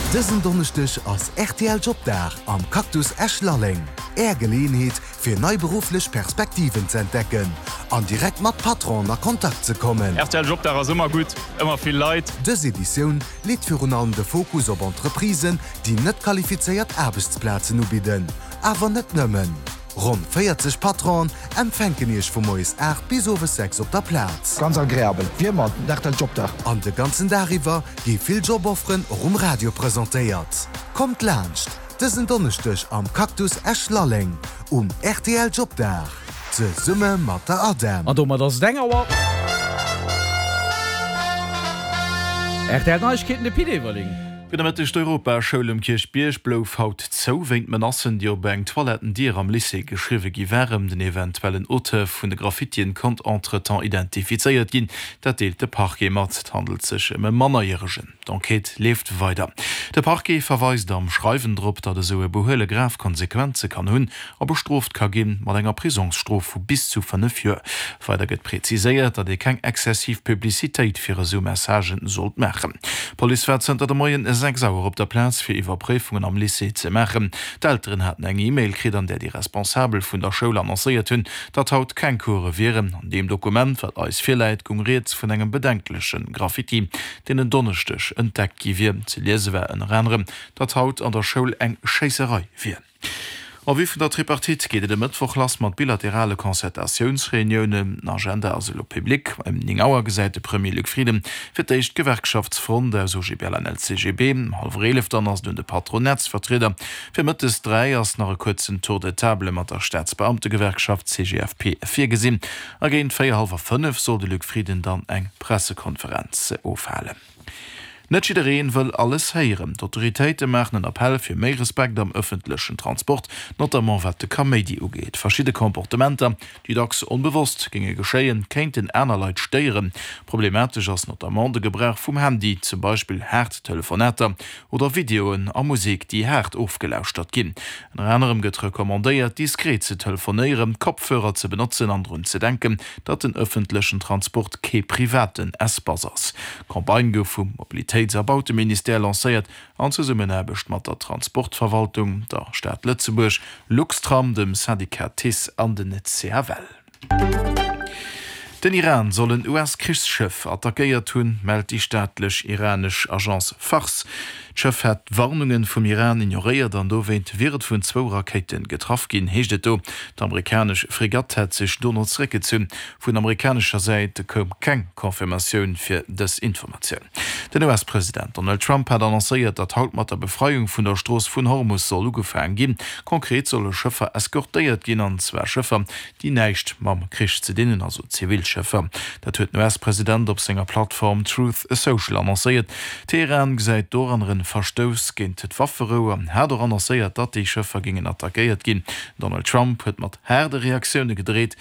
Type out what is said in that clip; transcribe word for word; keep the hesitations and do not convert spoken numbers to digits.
Dësen Donneschdeg ass R T L Jobdag am Cactus Esch-Lalleng. Är Geleeënheet fir nei berufflech Perspektiven ze entdecken an direkt mat Patronen a Kontakt ze kommen. R T L Jobdag ass ëmmer gutt, ëmmer vill Leit. Dës Editioun leet virun allem de Fokus op Entreprisen, déi net qualifizéiert Aarbechtsplazen ubidden. Awer net nëmmen. Ronn véierzeg Patronen empfänken iech vu moies aacht bis owes sechs op der Plaz. Ganz agreabel. Wéi ëmmer, R T L Jobdag. An de ganzen Dag iwwer gi vill Jobofferen och um Radio presentéiert. Kommt laanscht, dësen Donneschdeg am Cactus Esch-Lalleng um R T L Jobdag. Zesumme mat der ADEM. An domat ass et eng Auer. R T L Neiegkeeten, de Pit Everling. Gudde Mëtteg, D'Europaschoul um Kierchbierg blouf haut zou wéint Menacen, déi op eng Toilettendier am Lycée geschriwwe gi waren. Den eventuellen Auteur vun de Graffitien konnt entretemps identifizéiert ginn, dat deelt de Parquet mat. Et handelt sech ëm e Mannerjäregen. D'Enquête leeft weider. De Parquet verweist am Schreiwen drop, datt esou e Behuele grav Konsequenze kann hunn a bestrooft ka ginn mat enger Prisongsstrof vu bis zu fënnef Joer. Weider gëtt präziséiert, datt ee keng exzessiv Publicitéit fir esou Messagen sollt maachen. D'Police war zënter de Moien sechs Auer op der Plaz fir Iwwerpréifungen am Lycée ze maachen. D'Elteren haten eng E-Mail kritt, an där déi Responsabel vun der Schoul annoncéiert hunn, datt haut keng Course wieren. An deem Dokument, wat eis virläit, goung rieds vun engem bedenkleche Graffiti, deen en Donneschdeg entdeckt gi wier. Ze liese war ënner anerem, datt haut an der Schoul eng Schéisserei wier. En vue vun der Tripartite geet et e Mëttwoch lass mat bilaterale Concertatiounsreuniounen. Den Agenda ass elo public. Ëm néng Auer gesäit de Premier Luc Frieden fir d'éischt d'Gewerkschaftsfront aus O G B L an L C G B. Hallwer eelef dann ass et un de Patronatsvertrieder. Fir mëttes dräi ass nach e kuerzen Tour de table mat der Staatsbeamtegewerkschaft C G F P virgesinn. A géint véier, hallwer fënnef soll de Luc Frieden dann eng Pressekonferenz ofhalen. Net jiddereen wëll alles héieren. D'Autoritéite maachen en Appell fir méi Respekt am ëffentlechen Transport, notamment wat de Kaméidi ugeet. Verschidde Komportementer, déi dacks onbewosst géinge geschéien, kéinten aner Leit stéieren. Problematesch ass notamment de Gebrauch vum Handy, zum Beispill haart Telefonater oder Videoen a Musek, déi haart ofgelauschtert ginn. Ënner anerem gëtt recommandéiert, diskret ze telefonéieren, Kopfhörer ze benotzen an drun ze denken, datt den ëffentlechen Transport kee privaten Espace ass. D'Campagne gouf vum Mobilitéits a Bauteministère lancéiert an Zesummenaarbecht mat der Transportverwaltung, der Stad Lëtzebuerg, Luxtram, dem Syndicat TICE an den C F L. Den Iran soll en U S-Krichsschëff attackéiert hunn, mellt déi staatlech iranesch Agence Fars. D'Schëff hätt d'Warnunge vum Iran ignoréiert an dowéint wier et vun zwou Rakéite getraff ginn, heescht et do. D'amerikanesch Fregatt hätt sech dono zeréckgezunn. Vun amerikanescher Säit koum keng Confirmatioun fir dës Informatioun. Den U S-President Donald Trump hat annoncéiert, datt haut mat der Befreiung vun der Strooss vun Hormus soll ugefaange ginn. Konkret solle Schëffer eskortéiert ginn, an zwar Schëffer, déi näischt mam Krich ze dinn hunn, also zivil Schëffer. Dat huet den U S-President op senger Plattform Truth Social annoncéiert. Teheran gesäit doranner e Verstouss géint d'Wafferou an hat och annoncéiert, datt déi Schëffer géingen attackéiert ginn. Donald Trump huet mat haarde Reaktioune gedreet.